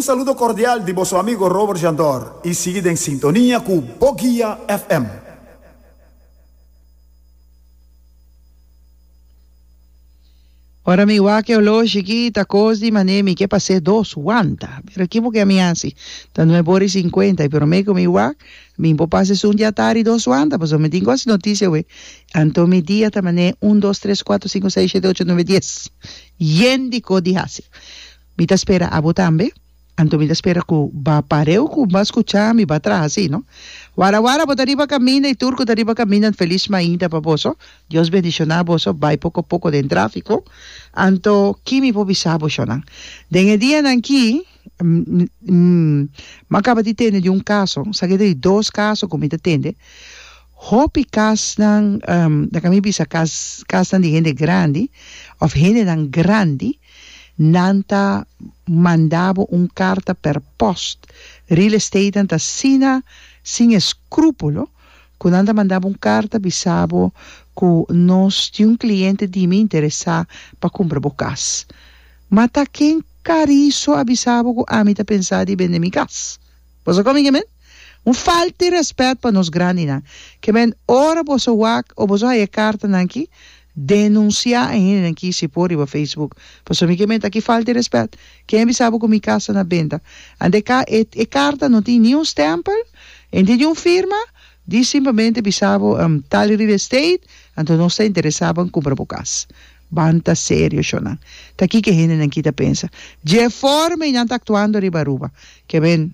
Un saludo cordial di boso amigo Robert Jandor y sigui den sintonia cu Boguia FM. Ora mi wak e oloshi ki ta kos di manera mi ke pas'é dos wanta. Pero ki bo ke mi hasi? Ta nuebe ora i sinkuenta i promé ku mi wak mi por pasa esun di atari dos wanta pasobra mi tin ku hasi notisia awe. Anto mi dia ta manera un dos tres kuater sinku seis shete ocho nuebe dies. Yen di kos di hasi. Mi ta spera abo tambe. Anto mi ta spera ku ba pareu ku ba skucha mi ba traha si no. Wara wara bo ta riba kaminda i tur ku ta riba kaminda felis mainta pa boso. Dios bendishoná boso bai poko poko den trafiko. Anto ki mi por bisa bo shonnan. Den e dianan ki mi a kaba di tende di un kaso sa ke ta di dos kaso ku mi ta tende hopi kasnan laga mi bisa kas kasnan di hende grandi òf hendenan grandi. Nan ta manda bo un karta per post. Real estatenan ta asina sin eskrúpulo ku nan ta manda bo un karta bisa bo ku nos tin un kliente di mi interesá pa kumpra bo kas. Ma ta ken kariso a bisa bo ku ami ta pensa di bende mi kas? Boso komi ke men? Un falta di rèspèt pa nos grandinan. Ke men ora boso wak o boso haya e kartanan aki, denunsiá e hendenan ki si por riba Facebook. Pasobra mi ke men ta ki falta di rèspèt. Ken a bisa bo ku mi kas ta na benta? Ante e ka e e karta no tin ni un stèmpel, e no tin ni un firma, di simplemente bisa bo tal real estate, anto nos ta interesá ban kumpra bo kas. Ban ta serio shonnan. Ta kiko e hendenan ki ta pensa? Dje forma ei nan ta aktuando riba Aruba. Ke men.